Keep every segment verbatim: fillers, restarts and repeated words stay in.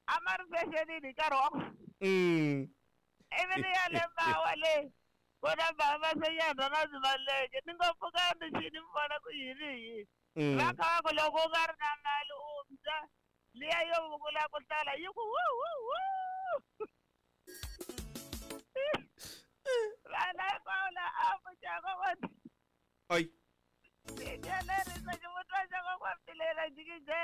A ma ri fexenini hi nkarhi wa ku Mm. ivi ni ya le mawa le ku na mama senyana na zimaleke ni ngo pfuka ni xi ni vona ku yini hi yini Mm. va kha va ku loko u nga ri na mali u mbya liya yo vukula ku hlala yi ku wu wu wu vana hinkwavo la a pfuxa kokwana Ai. lerisa xivutiwa xa kokwana lela jikije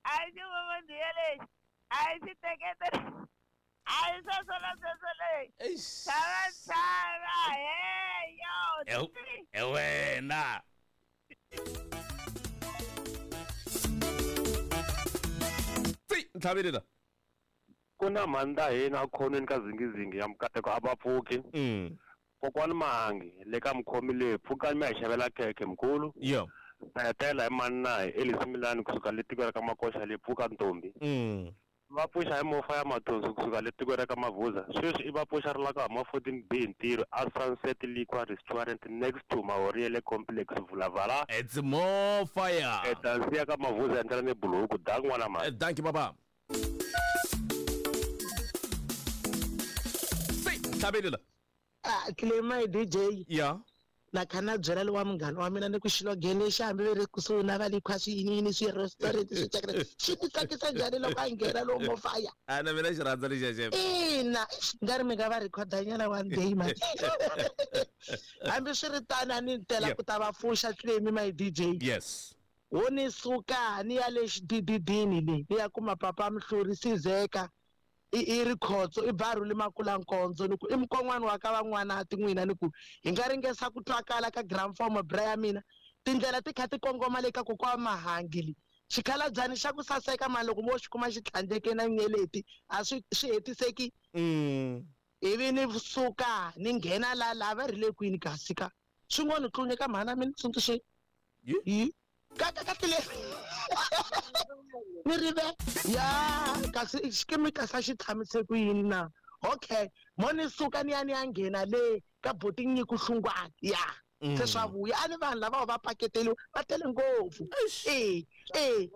a yi xivovondiye lexi a yi xiteketele a yi sweswo na sweswo lexi Eish. tshava tshava he yo Eu- E wena. Tsi, ntlhaveli la. Ku na mhani hina ekhonweni ka zingizingi ya mukateko a va pfuki. Mm. Kokwani Mahangi le ka mukhomi leyi pfukani mi ya hi xavela khekhe mkhulu. Yo. Ta hetela hi mani na hi Elisimilani kusuka le tikweni ra ka Makoxa le pfuka ntombi. Mm. Va pfuxa hi mofa ya mathonsi kusuka le tikweni ra ka Mavuza. Sweswi i va pfuxa ri la ka huma fourteen B hi ntirho a Sunset Liquor Restaurant next to Mahoriele Complex Vulavala. It's more fire. Etansi ya ka Mavuza endlela ni buluku da n'wana Eh, mhani. Thank you baba. Tsi, ntlhaveli la. Ah, Clema D J Yeah. na kha na byela lowa munghana wa mina ni ku xilogene lexi hambi ve ri kusuhi na va likhwa swi yini yini swi restaurant swi tsakela xi ti tsakisa njhani loko a nghena lowu mofaya A na mina xi rhandza lexiya xef. ina nga ri mi nga va rhikhodanyana one day man hambi swi ri tano a ni tela Yeah. ku ta va pfuxa Clemi my D J Yes. wo ni suka ni ya le xidididini le ni ya kuma papa Mhluri Sizeka i i rikhotso i barhuli makulankondzo ni ku i mukon'wana wa ka van'wanati n'wina ni ku hi nga ringesa ku twakala ka gramform bra ya mina tindlela ti kha ti kongoma le ka kokwa Mahangi le xikhalabyani xa ku saseka mani loko mo xi kuma xi tlhandleke na nyeleti a swi swi hetiseki Mm. ivi ni suka ni nghena la la va ri le kwini kasi ka swi ngo ni tlunya ka mhana mi ni tsundzuxeni Yi? yi ka ka ka tile ni rive ya kasi xikimi kasi a xi tshamise ku yini na okay mo ni suka ni ya ni ya nghena le ka boti Nyiko Hlungwane ya Mm. se swa vuya a ni vanhu lava va paketeliwa va tele ngopfu Eish. e e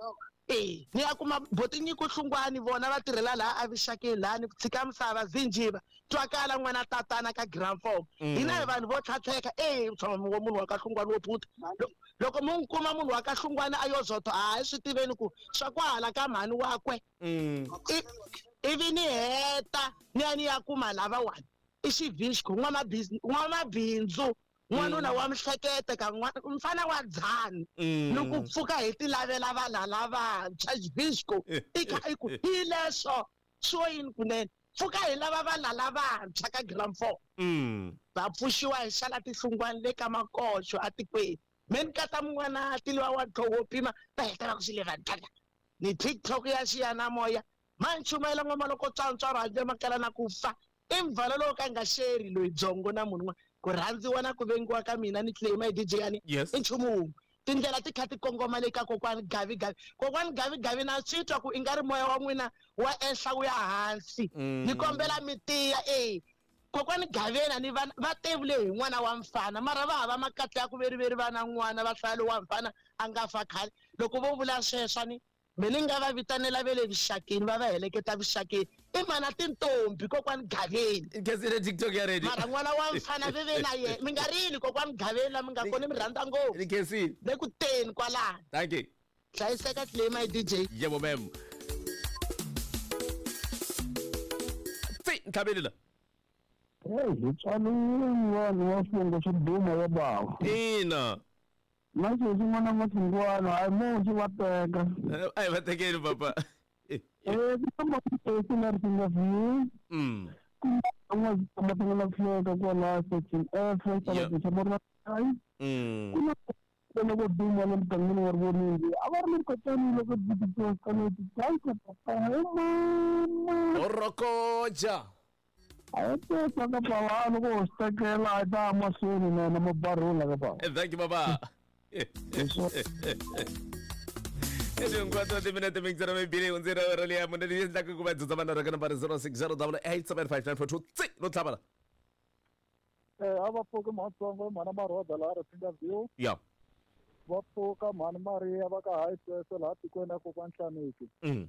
e ni ya kuma boti Nyiko Hlungwane vona va tirhela laha avuxakeni laha ni ku tshika misava zinjiva twakala n'wana tatana ka gramform Mm. hina hi vanhu vo tlhatlheka e tshama wa munhu wa ka Hlungwane wo phuta Lo- loko mo n'wi kuma munhu wa ka Hlungwane a yo zotho a hi swi tiveni ku swa kwahala ka mhani wakwe Mm. I- ivi ni heta ni ya ni ya kuma lavawani i xivixko n'wamabindzu n'wanuna wa mihlekete ka n'wana mfana wa dzani Mm. ni ku pfuka hi ti lavela vanhu lavantshwa xivixko i kha i ku hi leswo swo yini kunene pfuka hi lava vanhu lavantshwa ka gramform Mm. va pfuxiwa hi xala tihlungwana le ka makoxo atikweni me ni kata mun'wana tiliwa wa ntlhogo wo pima va heta va ku swi le vantlala ni TikTok ya xiyanimoya ma ni chumayela n'wana loko tswantswaro handle makala na ku fa i mvhalo lowu ka nga xeri loyi byongo na munhu un'wana ku rhandziwa na ku vengiwa ka mina ni claim D J yani Yes. i nchumu wun'we tindlela ti kha ti kongoma le ka kokwani Gavi Gavi kokwani Gavi Gavi na swi twa ku i nga ri moya wa n'wina wa ehla wu ya hansi Mm. ni kombela mi tiya e kokwani Gavena ni vana va tevule hi n'wana wa mfana mara va hava makatla ya ku veriveri va na n'wana va hlaya lowu wa mfana a nga fa khale loko vo vula sweswo ni me ni nga va vitanela ve le vuxakeni va va heleketa vuxakeni i mana tintombi kokwani Gaveni Nkhensile TikTok ya ready. mara n'wana wa mfana ve ve na yena mi nga rili kokwani Gaveni la mi nga koni mi rhandza ngopfu Nkhensile. le ku teni kwalano Thank you. hlayiseka claim my D J Yebo ma'am. Tsi, ntlhaveli la. Hey, hi tswariwile vanhu va swivongo swo duma ya bava. Ina. Na sweswi n'wana Mahlungwana hayi mo xi va teka. Eh, Ai va tekeni papa. Eh, ku na matesi na Risinga View. Mm. Ku na n'wana Feka kwala section F Yeah. xa xa Ai. Mm. Ku na loko duma le mugangeni wa Rivoningo. A va ri le kotani loko ti kana ti tsanka papa he mama. Orokoja. A yi teka ka bava loko ho swi tekela a yi ta ya mahlweni na na mabarhula ka bava. Eh, Thank you baba. Hinkwato timinete mintsena mibili hundzile awara liya mune leyi endlaka ku va dzudza vanhu ka nambara zero six zero double eight seven five nine four two tsi no tlhavela Eh, a va pfuki mhatsongo mhana Maroda laha Risinga View. ya Va pfuka mhani Maria va ka High Sweswe laha tikweni ya kokwana Nhlaniki. Mm.